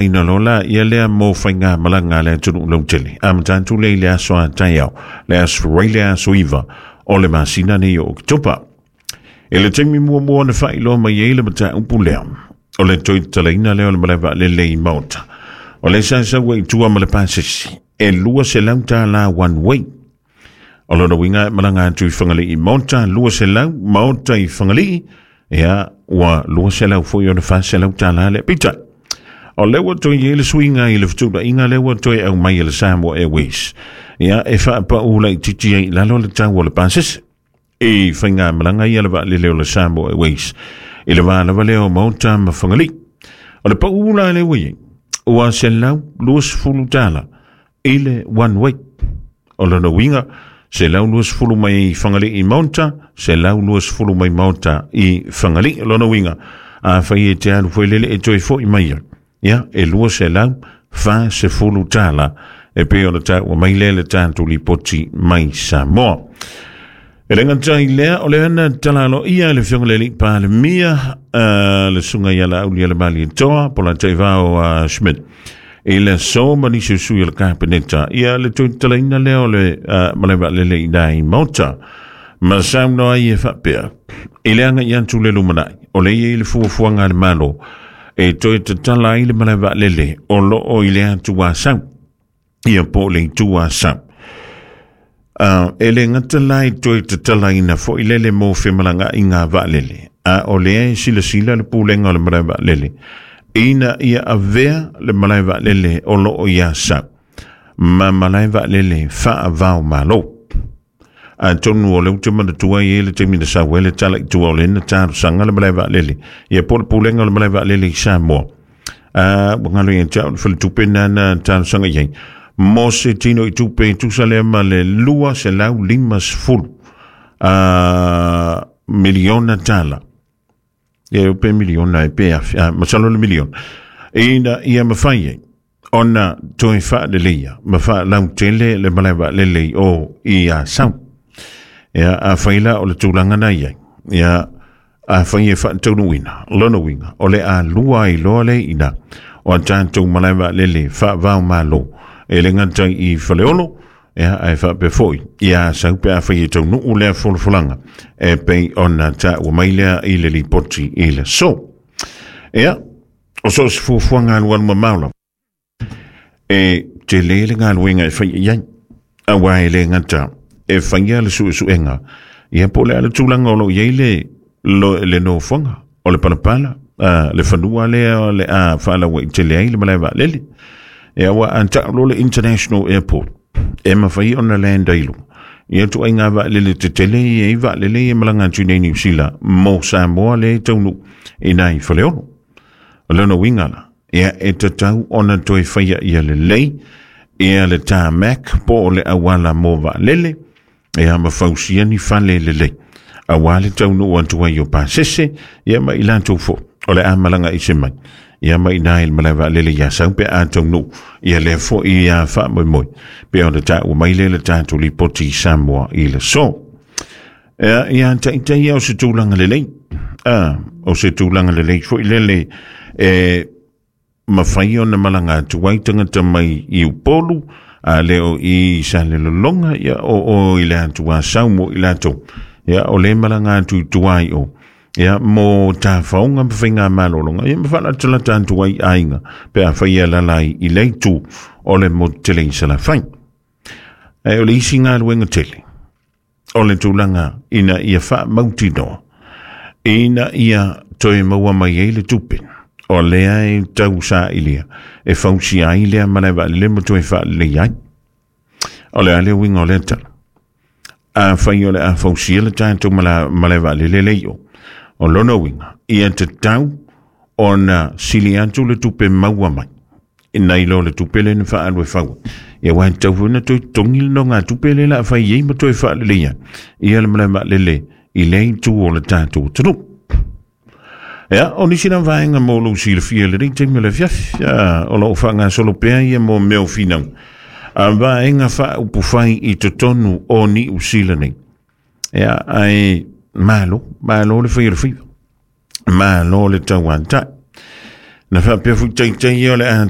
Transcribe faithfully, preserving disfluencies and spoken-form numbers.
Ina lola ia lea mo whainga malanga le atunu lautele. A matantu le le aso a taiao, le aso rei le aso iwa, o le masina nei o Oketopa. E le taimi muamua na faailoa mai ai le mataupu lea. O le toe tatalaina lea o le malae vaalele i Maota. O le sa sau ai tua ma le pasese, e lua selau tālā one way. O lona uiga e malaga atu i Fagalii i Maota, lua selau, Maota i Fagalii, ia ua lua selau foi ona fa selau tālā lea. Peitai, o lea ua toe i ai le suiga i le fetuunaiga lea ua toe aumai e le Samoa Airways. Ia e faapau laitiiti ai i lalo le tau o le pasese i faigamalaga ia le vaalele o le Samoa Airways i le va lava lea o Maota ma Fagalii. O le pau la lea ua i ai, ua selau luasefulu tālā i le one way. O lona uiga, selau luasefulu mai Fagalii i Maota, selau luasefulu mai Maota i Fagalii. O lona uiga, afai e te alu foi lele e toe foi mai ai, ia e lua selau fa sefulu tālā e pei ona taua mai lea le tatou lipoti mai Samoa. E le gata i lea, o le ana talalo ia le Afioga i le Alii Palemia, uh, le susuga ia Laaulialemalietoa Polataivao uh, Schmidt i le aso ma nisi o sui o le Kapeneta ia le toe tatalaina lea o le uh, malae vaalele i na i Maota ma saunoa ai e faapea i le agai atu le lumanai o le i ai le fuafuaga a le Malo e toe tatala ai le malae vaalele o loo i le atu Asau ia po o le itu Asau. Uh, e le gata la i toe tatalaina foi lele mo femalagaaiga vaalele, a o lea e silasila le pulega o le malae vaalele ina ia avea le malae vaalele o loo i Asau ma malae vaalele faava-o-Malo. Atonu o le ute manatua i le taimi na sau ai le tala i tua o le na talosaga le malae vaalele ia po o le pulega o le malae vaalele i Samoa. Uh, ua galo ia te au le faletupe na na talosaga i ai mo se tino i tupe e tusa lea ma le lua selau lima sefulu uh, miliona tālā. Ia pe miliona e pe afe, uh, masalo le miliona. Ina ia mafai ai ona toe faaleleia ma faalautele le malae vaalele o i Asau. Ia afai la o le tulaga na i ai, ia afai e faataunuuina, lona uiga, o le a lua ai loa le ina o a tatou malae vaalele faava-o-Malo e le gata i Faleolo, ia ae faapea foi i Asau pe afai e taunuu lea folafolaga e pei ona taua mai lea i le lipoti i le aso. Ia, o so o se fuafuaga alualu mamao lava. E tele le galuega e fai i ai, auā e le gata e faia le suesuega, ia po o le a le tulaga o loo i ai le, lo, le nofoaga o le palapala, uh, le fanua lea o le a faalauaitele ai le malae vaalele. Ia ua a tau loa le International Airport, e mafai ona land ai luga ia ituaiga vaalele tetele ia i vaalele ia malaga atu i nei Niu Sila mo Samoa le taunuu i nai Faleolo. O lona uiga la, ia e tatau ona toe faia ia lelei ia le tarmac po o le auala mo vaalele, ia ma fausia ni fale lelei auā le taunuu atu ai o pasese ia ma i latou foi o le a malaga ese mai ia ma i le malae vaalele i Asau pe a taunuu ia lea foi ia faamoemoe pe ona taua mai lea le tatou lipoti i Samoa i le aso. Ia, ia taitai ia o se tulaga lelei, a o se tulaga lelei foi lele e mafai ona malaga atu ai tagata mai i Upolu a le o i Salelologa ia o o i le atu Asau mo i latou ia o le malaga atu i tua i o ia mo tafaoga ma faigamalologa ia ma faalatalata atu ai aiga pe afai e alaala ai i le itu o le motu tele i Salafai. Ae o le isi galuega tele o le tulaga ina ia faamautinoa ina ia toe maua mai ai le tupe o lea e tau sailia e fausia ai lea malae vaalele ma toe faalelei ai. O le a le uiga o lea tala? Afai o le a fausia le tatou malae vaalele le i o, o lona uiga, ia tatau ona sili atu le tupe maua mai nai lo le tupe le na faaalu e fau. Ia ua tatau foi ona toe totogi le nogatupe le la a fai ai ma toe faaleleia ia le malae vaalele i lea itu o le tatou atunuu. Ia, o nisi na vaega mo lou silafia i lenei taimi o le afiafi, o loo faagasolo pea ia mo mea o finau a vaega faaupufai i totonu o Niu Sila nei. Ia, ae malo, malo le fai o le faiva, malo le tauatai. Na faapea fuitaitaia o le a